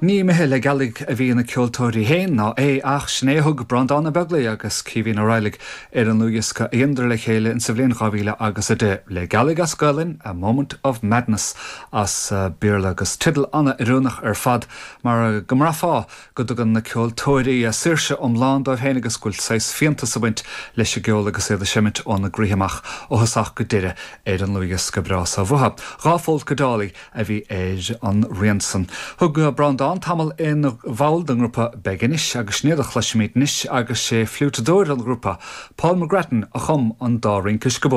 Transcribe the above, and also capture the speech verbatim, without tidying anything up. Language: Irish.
Ní imithe le gealaigh a bhí na ceoltóirí féin ná é ach sin é thug Breandán Ó Beaglaoich agus Caoimhín Ó Raghallaigh ar an ndlúthdhiosca a dheineadar le chéile in sa bhliain dhá mhíle agus a deich le gealaigh as Gaelainn a Moment of Madness as uh, Béarla agus teideal an-oiriúnach ar fad mar go mbraithfeá go dtugann na ceoltóirí a saoirse iomlán dóibh féin agus go bhfuil saghas fiántas ag baint leis an gceol agus iad ag seimint óna gcroíthe amach ó thosach go deireadh ar an ndlúthdhiosca breá seo uathu. Dhá Pholca Dolly a bhí ar an rian san. Thug Breandán tamall ina bhall den ngrúpa Beginis agus sin iad a chloisfimid anois agus sé fliútadóir an ghrúpa, Paul McGrattan a chum an dá rince scabó.